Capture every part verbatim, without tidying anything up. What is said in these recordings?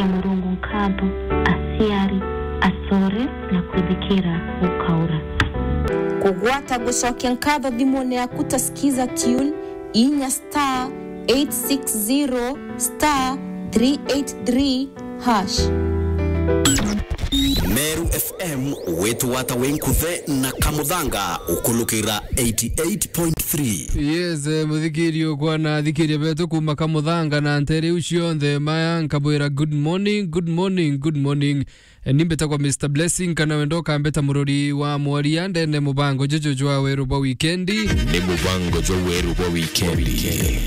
Murungu nkatho, aciari, acore na kwithikira gukaura. Kugwata gucokia nkatho thimune yaku ta Skiza Tune, inya star eight six zero star three eight three hash. Meru F M, witwata wi nkuthe na Kamuthanga, ukulukira eighty eight point three. Yes, eh, muthikiri ukwa na athikiria betu kuma Kamuthanga na ntere iu cionthe, maya nkabwira good morning, good morning, good morning. Eh, ni mbitagwa Mister Blessing, kana wenda ukambita murori wa mworia ndene mubango juju jwa weru bwa wikendi. Ni mubango jwa weru bwa wikendi.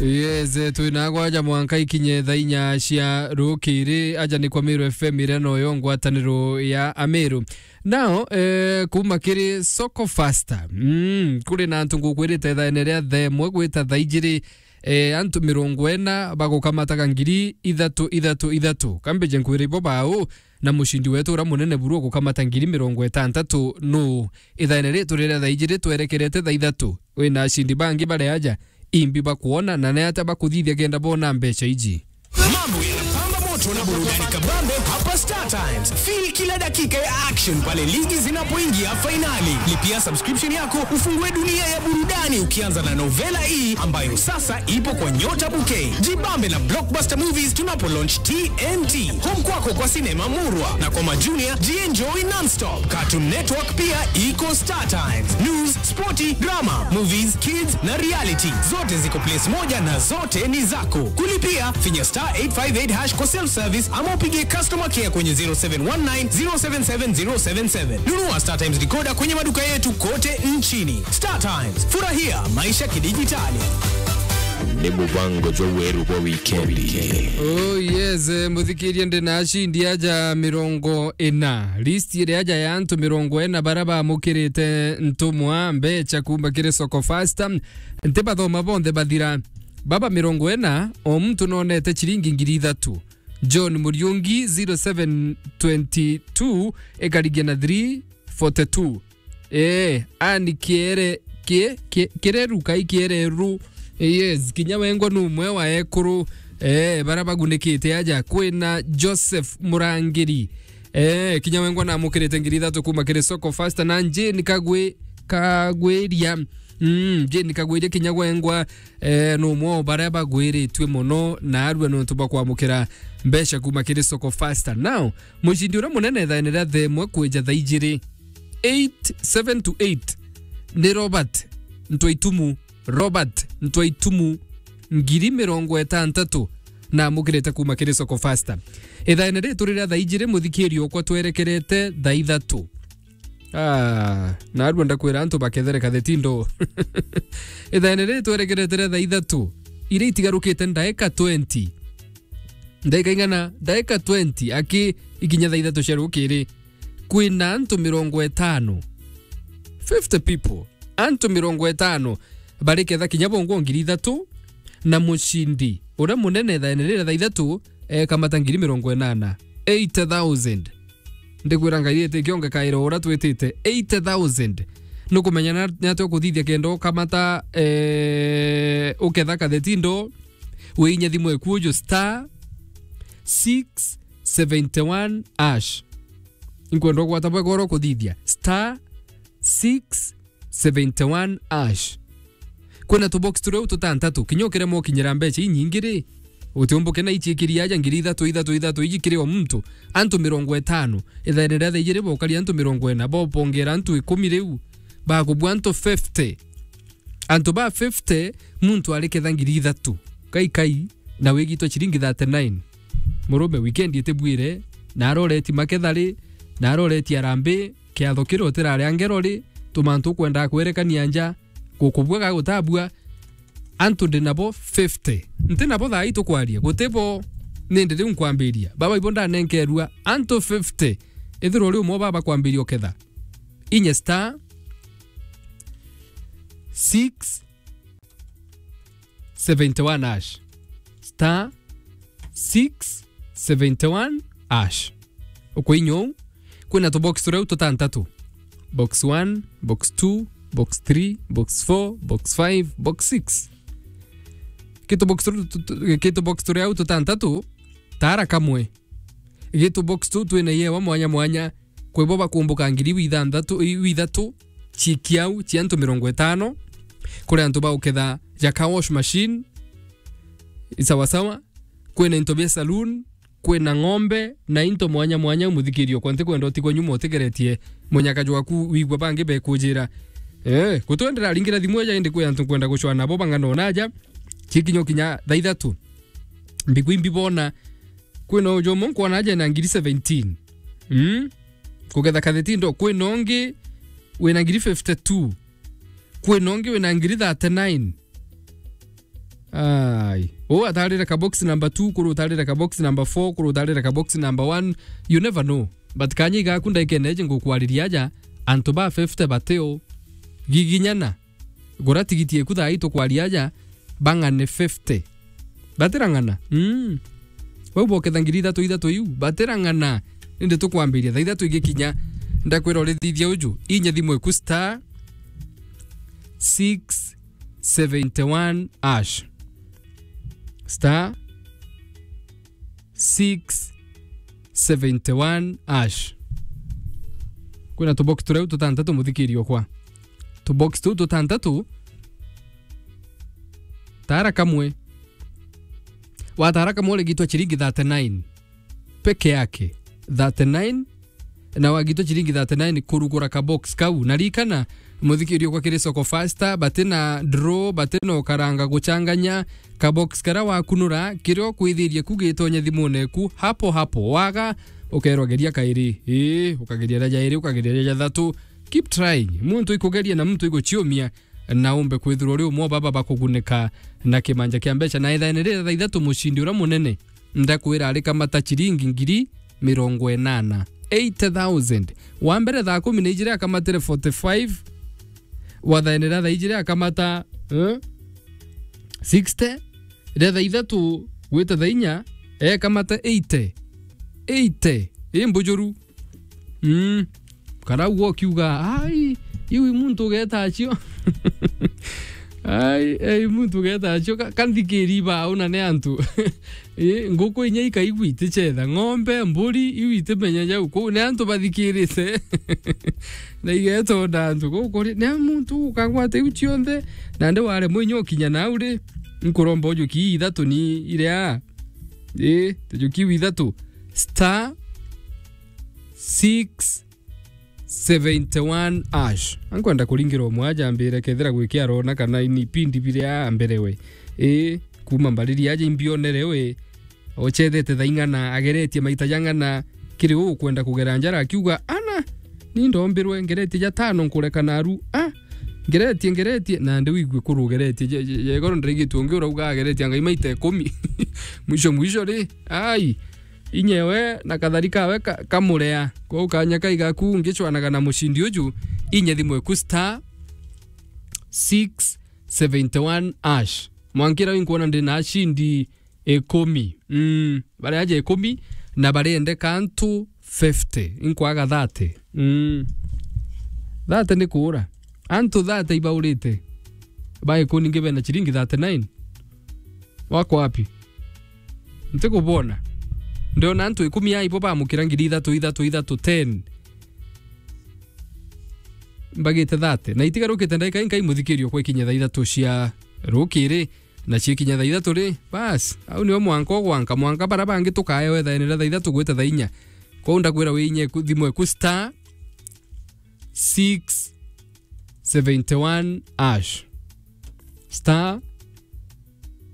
Yes, eh, twina gwaja mwanka ikinye thaa inya cia rukiri, aja ni kwa Meru F M iria noyo ngwataniro ya Ameru. Now, eh, kuma kiri Soko Fasta, mm, kuri na antu ngukwirite thaene ria themwe gwita thaa ijiri, eh, antu mirongo ina bagukamataga ngiri ithatu, ithatu, ithatu. Kambije nkwire ibo bau, na mucindi wetu uria munene buru ugukamata ngiri mirongo itantatu nu? Ithaene ritu riria thaa ijiri twerekerete thaa ithatu, wina acindi bangi bari aja, imbi bakwona, na ni atia bakuthithia kenda bona mbeca iji? Mambo yanapamba moto na burudani kabambe hapa Star Times. Feel kila dakika ya action pale ligi zinapoingia fainali. Lipia subscription yako ufungue dunia ya burudani ukianza na novela hii ambayo sasa ipo kwa Nyota Bouquet. Jibambe na blockbuster movies tunapo launch T N T. Home kwako kwa sinema murwa na kwa majunior jienjoy non-stop. Cartoon Network pia iko Star Times. News, sporty, drama, movies, kids na reality. Zote ziko place moja na zote ni zako. Kulipia, finya star eight five eight hash kwa self service ama upige customer care kwenye zero seven one nine zero seven seven zero seven seven. Nunua Star Times decoder kwenye maduka yetu kote nchini. Star Times, furahia maisha kidijitali. Ni mubango jwa weru bwa wikendi. Oh yes, eh, muthikirie, ndi na acindi aja mirongo ina. List iri aja ya antu mirongo ina bara bamukirite ntumwa mbeca kuma kiri Soko Fasta. Ntibathoma bonthe bathira. Baba mirongo ina, o muntu nonete ciringi ngiri ithatu. John Muriungi zero seven twenty two ikarigia na three forty two. Eh, ani kiere, kie, kie, kireru kai kiereru. Yes, kinya wengwa ni umwe wa ekuru, eh, bara bagunikite aja. Kwina Joseph Murangiri. Eh, kinya wengwa namukirite ngiri ithatu kuma kiri Soko Fasta, na Jane Kagwi-, Kagwiria. Mm, Jane Kagwiria kinya wengwa, eh, ni umwe o baria bagwiritue mono na arua nontu bwa kwamukira mbeca kuma kiri Soko Fasta. Now, mucindi uria munene ithaene ria themwe kwija thaa ijiri, eight, seven to eight, ni Robert Ntwaitumu. Robert Ntwaitumu, ngiri mirongo itantatu, namukirite kuma kiri Soko Fasta. Ithaene ritu riria thaa ijiri, muthikiri okwa, twerekerete thaa ithatu. Ah, narua ndakwira antu bakethere katheti ndo. Ithaene riri twerekerete ria thaa ithatu, iria itigarukite ndaika twenty. Ndaika ing'ana? Ndaika twenty, aki ikinya thaa ithatu cia rukiri. Kwina antu mirongo itano. Fifty people. Antu mirongo itano. Bari ketha kinya bongwa ngiri ithatu, na mucindi uria munene ithaene riri ria thaa ithatu ekamata ngiri mirongo inana. Eighty thousand. Ndikwira Ngai iti kionge kairo uria twitite. Eighty thousand. Nukumenya na, ni atia ukuthithia kenda ukamata, eh, uketha katheti ndo, wiinye thimu eku uju star six seventy one hash. Inkwenda ugwata bwega uria ukuthithia star six seventy one hash. Kwina tubox turia u tutantatu, kinya ukiremwa ukinyira mbeca inyingi ri, utiumbuke na ichiikiri aja ngiri ithatu, ithatu, ithatu, iji kiri o muntu, antu mirongo itano. Ithaene ria thaa ijiri bokari antu mirongo ina, bobongera antu ikumi riu, bakubua antu fifty. Antu ba fifty, muntu ari ketha ngiri ithatu. Kai, kai, na wigitwe ciringi thirty nine. Murume, weekend itibwire, na aroreti maketha ri, na aroreti arambi, kiatho kiria utirari angero ri, tumantu ukwendaa kwerekania nja, gukubua ga gutabua, antu ndi nabo fifty. Nti nabo thaa ii tukwaria, gutibo, nindi riu nkwambiria. Baba ibo ndanenkerua, antu fifty. Ithirwa uri umwe baba kwambiria uketha. Inya star six seventy one hash. Star six seventy one hash. Ukwinya uu, kwina tubox turia u tutantatu. Box one, box two, box three, box four, box five, box six. Kitu box tu-, tu-, tu-, kitu box turia u tutantatu, Tara kamwe. Gitu box tu twina yewa mwanya mwanya. Kwi bo bakumbuka ngiri wi ithanthatu, wi ithatu, cikiau, cia antu mirongo itano. Kuri antu ba uketha ja car wash machine. I sawa sawa. Kwina into bia saloon. Kwina ng'ombe na into mwanya mwanya, muthikirio kwa ntikwenda utigwe nyuma utigeretie munyaka jwaku wigua bangi bekujira. Eh, gutwendera ringira thimu eja indi kwi antu nkwenda gucwana nabo bang'ana onaja. Cikinya kinya thaa ithatu. Mbigwi mbibona. Kwina uju umwe nkwona aja na ngiri seventeen. Mm? Kugetha kathetindo, kwina ungi wina ngiri fifty-two. Kwina ungi wina ngiri thirty-nine. Ai. U atarire ka box number two, kuru utarire ka box number four, kuru utarire ka box number one. You never know. But kanya igaku ndaikene eje ngukwariria aja, antu ba fifty bateo. Giginyana. Gura tigiti eku thaa ii tukwaria aja, bang'ane fifty. Batirang'ana? Mm. Bau boketha ngiri ithatu ithatu iu, batirang'ana. Indi tukwambiria thaa ithatu igikinya, ndakwira urithithia uju, inya thimu eku star six seventy one hash. Star six seventy one hash. Kwina tubox tureu tutantatu, muthikirio kwa. Tubox tuu tutantatu, tara kamwe. Watara kamwe urigitwa ciringi thirty nine peke yake. Thirty nine, na wagitwa ciringi thirty nine kurugura ka box kau. Na ririkana, muthikirio kwa kiri soko faster, bati na draw, bati na ukaranga guchanganya. Ka box karia wakunura, kiria ukwithirie ku gitonya thimune eku, hapo hapo. Waga, ukerwa geria kairi. Ii, ukageria ria jairi, ukageria ria jathatu. Keep trying. Muntu ikugeria na muntu iguchiumia, na umbe kwithirwa uri umwe wa baba bakugunika na kimanja kia mbeca. Na ithaene riria thaa ithatu mucindi uria munene, ndakwira arikamata ciringi ngiri mirongo inana. Eighty thousand. Wa mbere thaa kumi na ijiri akamatire forty five. Wa thaene ria thaa ijiri akamata, eh, sixty. Ria thaa ithatu gwita thaa inya, ekamata eighty. Eighty. I mbujuru. Mm. Kana uga ukiuga, "Ai, iu i muntu ugeta acio." Ai, ai, muntu ugeta acio. Ka-, kanthikiri bau na ni antu. Ii, nguku inya ikaigua itichetha. Ng'ombe, mburi, iu itimenya jau. Kuu ni antu bathikirite. Na igetonda antu. Kuu kuri, ni muntu ukagwata iu cionthe. Nandi waremwa inya ukinya nau ri. Nkuromba ujuki ithatu ni iria. Ii, tujuki ithatu. Star six seventy one hash. Ankwenda kuringira umwe aja ambire kethira gwiki arona kana ini pindi biria ambere we. Ii, kuma mbariri aja imbionere we. Ochethete thaing'ana, ageretie maita jang'ana, kiri u ukwenda kugera njara akiuga, "Ana, ni ndombirwe, ngeretie jatano nkureka naru. Ah, ngeretie, ngeretie." Nandi wigue kurugeretie. Je-, je-, jegoro ndarigitwe ungi urauga ageretie angai maita ikumi. Mwisho, mwisho ri, ai, inyewe na kathari kawe ka-, kamurea. Kwou kanya kai gaku ngicwanaga na mucindi uju, inye thimu eku star six seventy one hash. Mwankira wi nkwona ndi na ashindi ikumi. Mm, baria aja ikumi na bariendeka antu fifty. Inkwaga thirty. Mm. Thirty ni kuura. Antu thirty ibaurite. Ba ikuni ngi bena ciringi thirty nine. Wako wapi? Ntikubona. Ndiona antu ikumi ya ibo bamukira ngiri ithatu, ithatu, ithatu, ten. Mbagite thirty. Na itigarukite ndagika inkai muthikirio kwa ikinya thaa ithatu cia rukiri, na cikinya thaa ithatu ri, bas, au nio mwanka ugwanka, mwanka bara bangi tukaewe thaenera thaa ithatu gwita thaa inya. Kwou ndakwira winye ku-, thimu eku star six seventy one hash. Star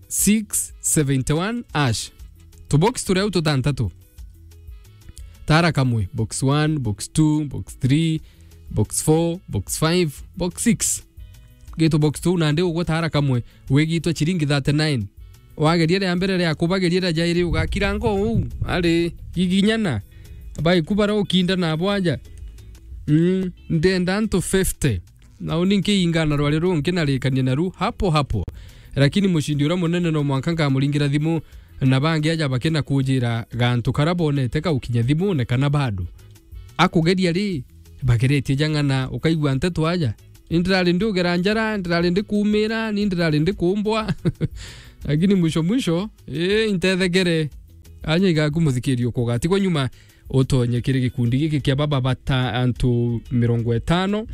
six seventy one hash. Tubox turia au tutantatu. Tara kamwe, box one, box two, box three, box four, box five, box six. Gitu box tu nandi ugwe tara kamwe, wigitwe ciringi thirty nine. Wageria ria mbere ria kubageria ria jairi ugakira ngo uu, ari giginyana. Bai kubara ukinda na bwaja. Mm, ndenda antu fifty. Na uni nkiingana rwari ruu nkinarikania naru hapo hapo. Lakini mucindi uria munene no mwanka nkamuringira thimu, na bangi aja bakina kujira gantu karia bonete kaukinya thimune kana bado. Akugeria ri, bageretie jang'ana, ukaigua nteto aja. Ni ndirari ndi ugera njara, ndirari ndi kuumira, ni ndirari ndi kuumbwa. Lakini mwisho mwisho, ii, intethekere. Anya igaku muthikiria ukugatigwa nyuma, utonye kiri gikundi giki kia baba bata antu mirongo itano,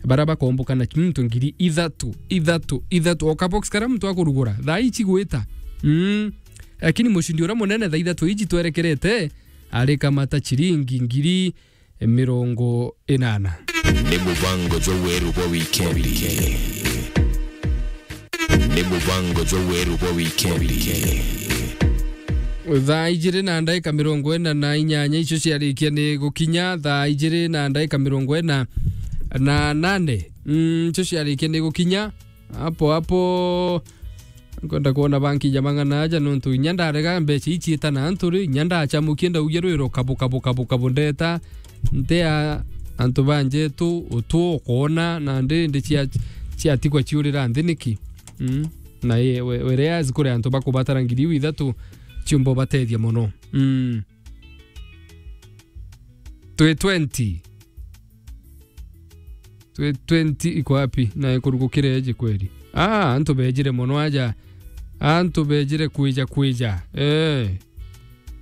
bara bakomboka na muntu ngiri ithatu, ithatu, ithatu. O kabox karia muntu akurugura, thaa ici gwita. Mm. Lakini mucindi uria munene thaa ithatu iji twerekerete, arikamata ciringi ngiri mirongo inana. Ni mubango jwa weru bwa wikendi. Ni mubango jwa weru bwa wikendi. Thaa ijiri na ndaika mirongo ina na inyanya icio ciarikia ni gukinya, thaa ijiri na ndaika mirongo ina na nane, mm, icio ciarikia ni gukinya. Hapo hapo, nkwenda kwona banki ja mang'ana aja, nontu inya ndarega mbeca ici ita na antu ri, inya ndachamukie ndaugia rwiro kabu, kabu, kabu, kabu, ndeta, ntea antu banjetu utu ukwona, na ndi, ndi cia, ciatigwa ciurira nthi niki? Mm. Na i, we, whereas kuri antu bakubatara ngiri iu ithatu, ciumba ubatethia mono. Mm. Twi twenty. Twi twenty iko wapi? Na ikurugukire eje kweri? Ah, antu bejire mono aja. Antu bejire kwija kwija. Eh.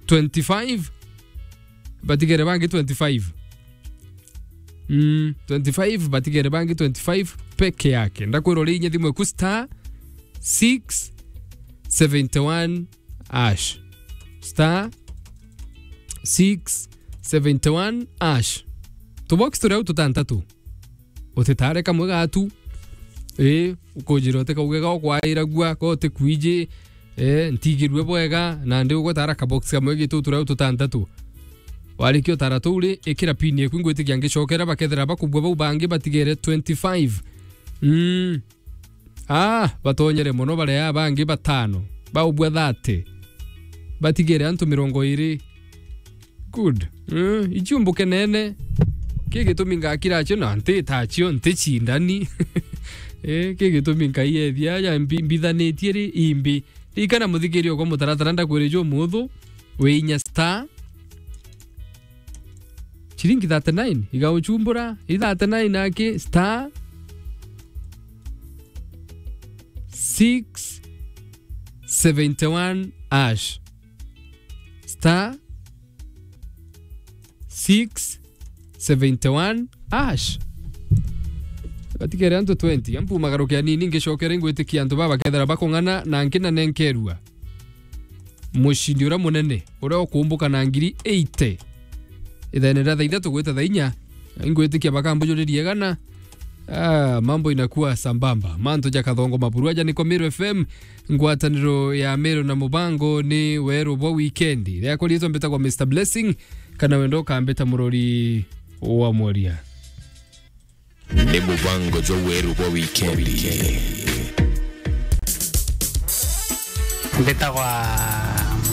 Twenty-five. Batigere bangi twenty-five. Mm, twenty-five, batigere bangi twenty-five peke yake. Ndakwira uri inya thimu eku star six seventy-one hash. Star six seventy-one hash. Tubox turi au tutantatu. Utitare kamwe gatu. Ii, ukujira utikauge ga ukwairagua, ko utikwiji, eh, ntigirue bwega, na ndi ugwetara kabox kamwe gitu turi au tutantatu. Warikia utara tuu ri, ikira pin eku, ingwitikia ngicokera, bakethira bakubua bau bangi batigere twenty-five. Mm. Ah, batonyere mono baria bangi batano. Baubua thirty. Batigere antu mirongo iri. Good. Eh, icio mbukenene. Ki gitumi ngakira cio na nti ta cio, nti cindani. Eh, ki gitumi nkaiyethia aja mbi-, mbithanitie ri imbi. Ikana muthikiria kwa mutaratara ndakwire jo muthu. Wi inya star ciringi thirty-nine, igauchumbura, i thirty-nine aki, star six seventy-one hash. Star six seventy-one hash. Batigere antu twenty, ampu magaruke anini, ngicokere ngwitikia antu baba bakethira bakung'ana na nkinanenkerua. Mucindi uria munene, uria ukumbuka na ngiri eighty. Ithene ria thaa ithatu gwita thaa inya, ingwitikia bakambujuririe igana. Ah, mambo inakuwa sambamba. Mantu ja Kathongo Maburu aja niko Meru F M, ngwataniro ya Meru na mubango ni weru bwa wikendi. Riakwa riitwa mbitagwa Mister Blessing, kana wenda ukambita murori wa mworia. Ni mubango jwa weru bwa wikendi. Mbitagwa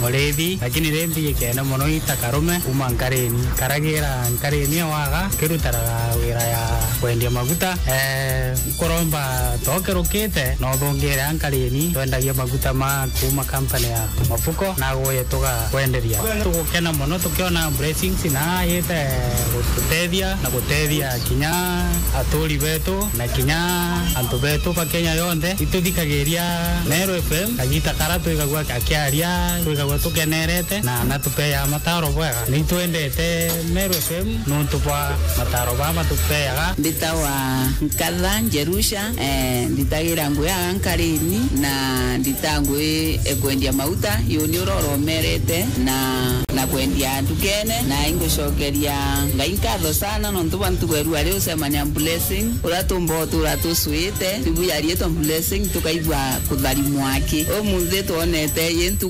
Murithi, lakini ri mbijikene mono ita Karume, kuma Nkarini. Karagira Nkarini ewaga, kirutaraga wira ya kwendia maguta. Eh, nkuromba tokerukite, no thungire a Nkarini, twendagia maguta ma kuma company ya Mafuko, na guye tugakwenderia. Tugukena mono tukiona blessings na yite gututethia na gutethia kinya aturi betu na kinya antu betu ba Kenya yonthe. Ituthikagiria Meru F M, kagita kara twigagua akiaria, twigagua tukenerete na natupeaga mataro bwega. Nitwendete Meru F M nontu bwa mataro baa matupeaga. Mbitagwa Nkatha Njerusha, eh, nditagira ngui aga Nkarini na ndita ngui ekwendia mauta, yuni uroromerete na, na kwendia ndukene, na ingucokeria Ngai nkatho sana nontu bwa ntugo ya rua riu ucemania Blessing, uria tumba utura tucwite, tubuya rietwa Blessing, tukaigua kutharimwa aki. Umunthi twonete yintu